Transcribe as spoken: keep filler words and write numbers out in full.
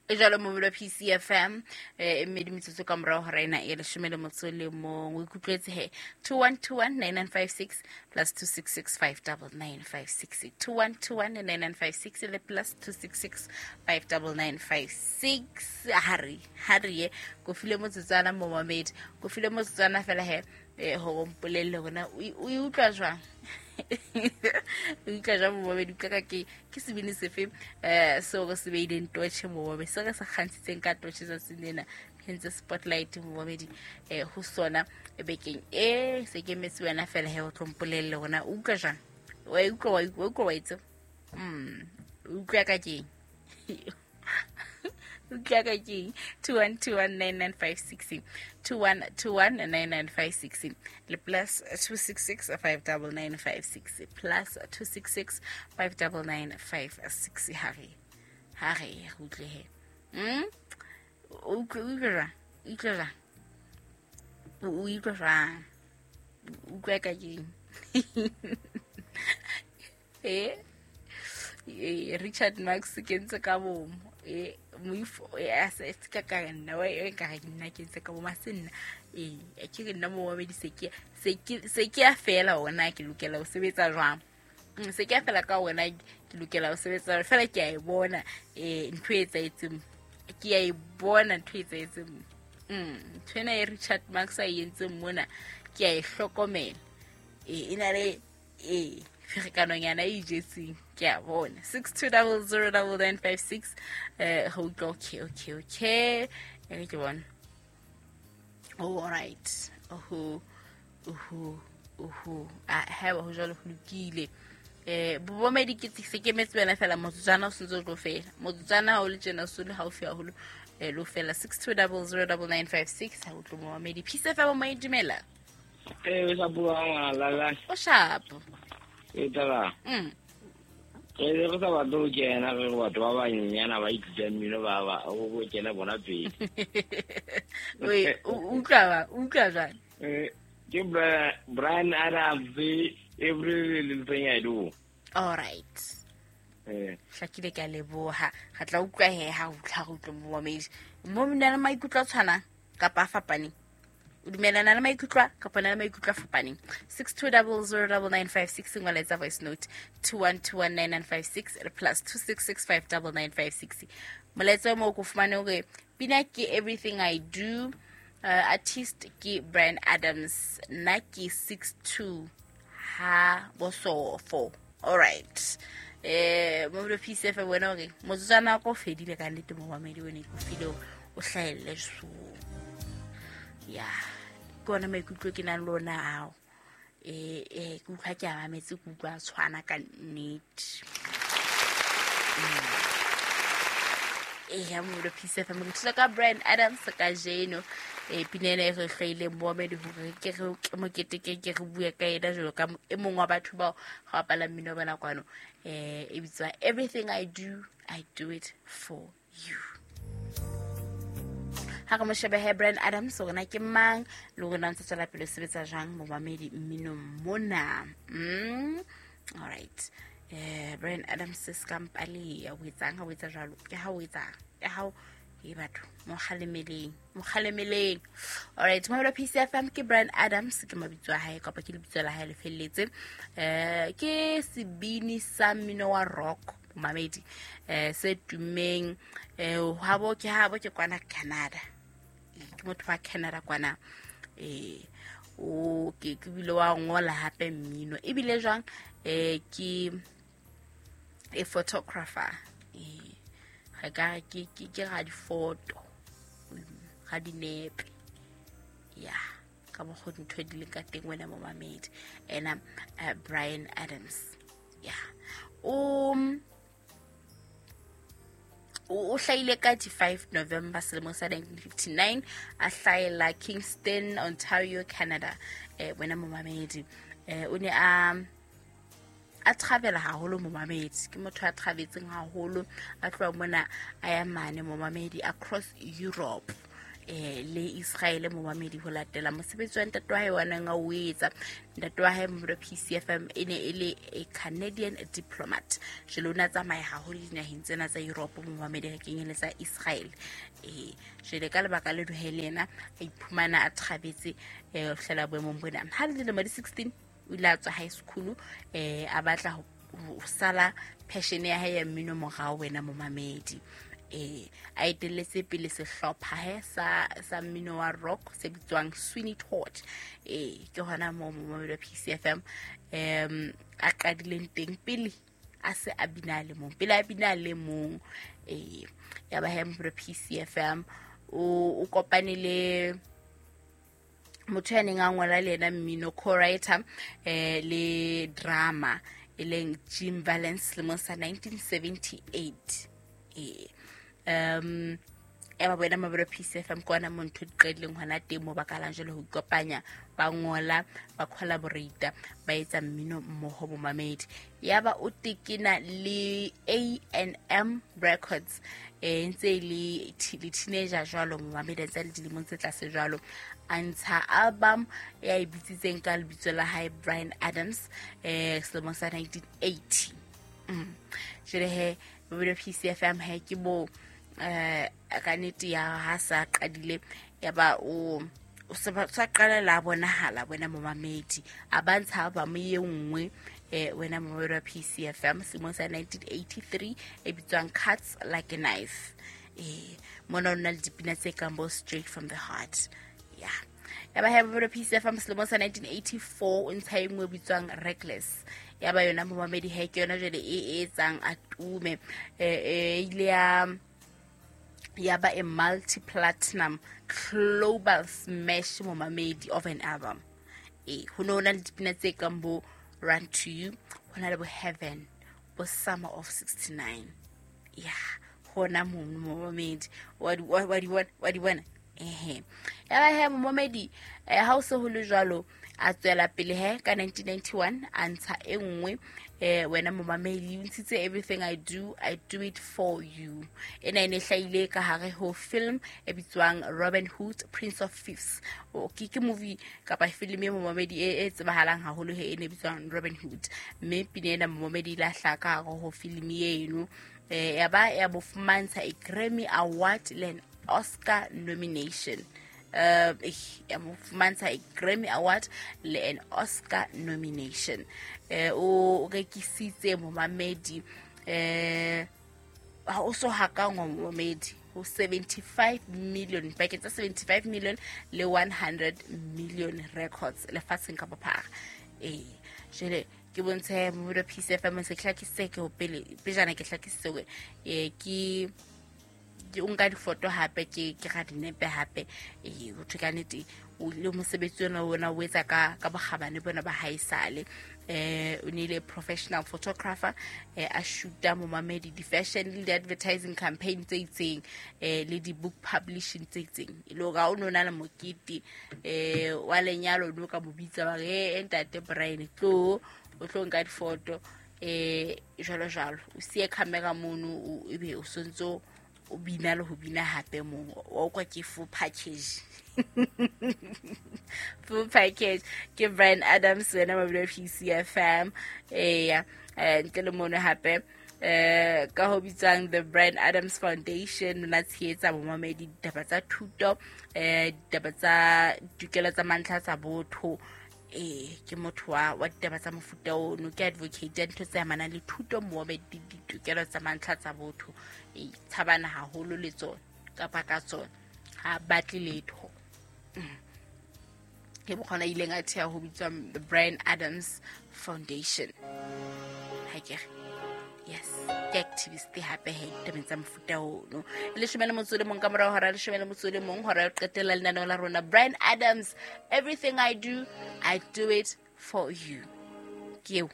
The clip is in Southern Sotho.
Jalo mobile P C F M eh mmedi metsotso ka morao hora ena e leshome le motso le mong. O ikutlwetse he two one two one nine nine five six plus two six six five nine nine five six two one two one nine nine five six le plus two six six five nine nine five six. Hari hari ko file motsotsana momamedi ko file motsotsana fela he eh ho mpolelle hona o utlwa jwang o utlwa jwang momamedi utlwa ka ke ke sebini sefe eh seo re se beileng torch momamedi se re se kgantshitseng ka torch tsatsing lena hentse spotlight momamedi eh ho sona bekeng e se ke metse wena fela he o tlo mpolelle hona o utlwa jwang wa utlwa wa utlwa wa itse mm utlwa ka ke utlwa ka ke two one two one nine nine five six two one two one nine nine five six le plus two six six five nine nine five six plus two six six five nine nine five six. Hare hare utlwe he mm utlwa utlwa utlwa utlwa ka ke eh Richard Marx ke ntse ka bomo eh moifo e se ka ka nna wa e ka nna ke ntse ka bo masenna eh ke re nna mo wa medise ke se ke se ke a fela ona ke lokela ho sebetsa jwang se ke a fela ka wena ke lokela ho sebetsa fela ke a e bona eh ntho e etsaetseng ke a e bona ntho e etsaetseng mm ntho ena e Richard Marx a entseng mona ke a e hlokomela eh ina le eh ferekanonyana e ijetseng ke a bona six two zero zero nine nine five six eh ho utlwa okay okay okay e ke bona oh all right oho oho oho a ha ho jalo ho lokile eh bobomedi ke se ke metse wena fela motsotsana o sentse o tlo fela motsotsana o le tjena so le haufi haholo eh lo fela six two zero zero nine nine five six ha o tlo momedi Peace F M mo dumela eh o sa bua la la o sharp e tla mm re re sa batlo ho kena re re batho ba banyenyana ba ithuta mmino ba ba o kena bona pele we utlwa ba utlwa jwang eh ke Brian Adams every little thing I do. All right eh hlakile ka leboha ga tla utlwa he ha utlwa go utlwa momamedi mo mina le maikutlo a tshwanang kapa a fapaneng o dumelana le maikutlo kapa na le maikutlo a fapaneng six two zero zero nine nine five six ngwala etsa voice note two one two one nine nine five six plus two six six five nine nine five six molaetsa mo ko fumane hore pina ke Everything I Do uh, artist ke Brian Adams nna ke six two ha bosofo. All right eh mo le P C F wena hore motsotsana ko fedile ka nnete mo mamedi wena ke file o hlahelle so ya ke ona maikutlo ke nang le ona ao eh eh ke utlwa ke a mametse ke utlwa tshwana ka nnete eh ya mo le P C F mo thusa ka Brian Adams ka jeno eh pina ena e re hlwaileng momedi hore ke re ke mokete ke ke re bue ka ena jalo ka e mong wa batho bao ga bapala mmino bona kwano eh e bitswa Everything I Do I Do It For You. Ha re mo shebe he Brian Adams hore na ke mang le hore na ntse tswela pele sebetsa jwang momamedi mmino mona mm all right eh Brian Adams se skampale ya o etsang ha o etsa jwalo ke ha o etsang ke ha e batho mo kgalemeleng mo kgalemeleng. All right mo P C F M ke Brian Adams ke mabitso a hae kapa ke lebitso la hae le felletse eh ke sebini sa mmino wa rock momamedi eh se tumeng eh habo ke habo ke kwana Canada ke motho wa Canada kwana eh o ke ke bile wa ngola hape mmino ebile jwang eh ke a photographer eh ga ka ke ke ke ga di photo ga di nepe ya ka mo go ntho di le ka teng wena momamedi ena Brian Adams ya um o hlahile ka di five November selemo sa nineteen fifty-nine a hlahela Kingston, Ontario, Canada eh wena momamedi eh o ne a a travela haholo momamedi ke motho a travetseng haholo a tloha mona a ya mane momamedi across Europe eh le Israel momamedi ho latela mosebetsi wa ntate wa hae wa neng a o etsa. Ntate wa hae momamedi wa P C F M e ne e le a Canadian diplomat. Jwale o ne a tsamaya haholo dinaheng tsena tsa Europe momamedi re kenyeletsa Israel. Eh jwale ka lebaka le he le yena a iphumana a thabetse eh ho fihlela boemong bona. Ha le dilemo di sixteen o ile a tswa high school eh a batla ho sala passion ya hae ya mmino morao wena momamedi. Eh a etelletse pele sehlopha he sa sa mmino wa rock se bitswang Sweeney Todd. Eh ke hona mo momamedi wa P C F M em a qadileng teng pele a se a bina le mong pele a bina le mong. Eh ya ba he momamedi wa P C F M o o kopane le motho ya neng a ngola le yena mmino co-writer eh le drama e leng Jim Valance lemong sa nineteen seventy-eight. Eh um ya ba bona mabelo P C F M kwana mo ntho di qadileng hona teng mo ba kalang jwale ho ikopanya ba ngola ba collaborate ba etsa mmino mmoho bomamedi. Ya ba o tekena le A and M Records eh ntse le le teenager jwalo momamedi tsa le dilemong tse tlase jwalo a ntsha album ya e bitsitseng ka lebitso la hae Bryan Adams eh selemong sa nineteen eighty. Mm. Jwale he mabelo P C F M he ke bo eh ka nnete ya ha sa qadile ya ba o o sa qala la bonahala wena momamedi a ba ntsha ba mo ye nngwe eh wena momamedi wa P C F M selemong sa nineteen eighty-three e bitswang Cuts Like a Knife. Eh mona o na le dipina tse kang bo Straight from the Heart. Yeah. Ya ba he momamedi wa P C F M selemong sa nineteen eighty-four o ntsha e nngwe e bitswang Reckless. Ya ba yona momamedi he ke yona jwale e etsang a tume eh ile ya ya ba a multi-platinum global smash momamedi of an album. Eh ho no na le dipina tse kang bo Run to You, ho na le bo Heaven, bo Summer of sixty-nine. Yeah, hona mono momamedi wa di wa di wa di bona. Ehe. Ya ba he momamedi eh ha o se ho le jwalo a tswela pele he ka nineteen ninety-one a ntsha e nngwe eh wena momamedi o ntshitse Everything I Do I Do It For You. Ena e ne hlahile ka hare ho film e bitswang Robin Hood Prince of Thieves. O ke ke movie kapa film e momamedi e e tsebahalang haholo he e ne bitswang Robin Hood. Mme pina ena momamedi la hlaka ka hare ho film eno eh ya ba ya bo fumantsha a Grammy Award le an Oscar nomination. Uh, ya mo fumantsha a Grammy Award le an Oscar nomination. Eh o rekisitse momamedi eh ha o so hakangwa momamedi ho seventy-five million pakeng tsa seventy-five million le one hundred million records lefatsheng ka bophara. Eh jwale ke bontshe momamedi wa P C F M se hlakisitse ke ho pele pejana ke hlakisitse hore eh ke ke o nka difoto hape ke ke ga dinepe hape eh ho thwe ka nnete o le mosebetsi ona ona o etsa ka ka bokgabane bona ba haesale. Eh o ne le professional photographer eh a shoota momamedi di fashion le di advertising campaign tse itseng eh le di book publishing tse itseng. E le hore ha o no na le mokete eh wa lenyalo no ka mo bitsa ba re ntate Bryan tlo o tlo nka difoto eh jwalo jwalo o siye camera mono ebe o sontso o bina le ho bina hape mo o kwa ke full package. Full package ke Bryan Adams wena mabilo P C F M. Eh ntle le mono hape eh ka ho bitswang the Bryan Adams Foundation na tshehetsa momamedi ditaba tsa thuto eh ditaba tsa ditokelo tsa mantlha tsa botho. Eh ke motho wa wa ditaba tsa mofuta ono ke advocate ya ntho tse amanang le thuto momamedi ditokelo tsa mantlha tsa botho. E tshabana haholo le tsona kapa ka tsona ha batle letho. Ke bokgona ileng a thea ho bitswa the Bryan Adams Foundation. Ha ke yes ke activist hape he ditabeng tsa mofuta ono. Leshome le motso le mong ka morao hora leshome le motso le mong hora ya qetela lenaneo la rona Bryan Adams Everything I Do I Do It For You. Ke eo.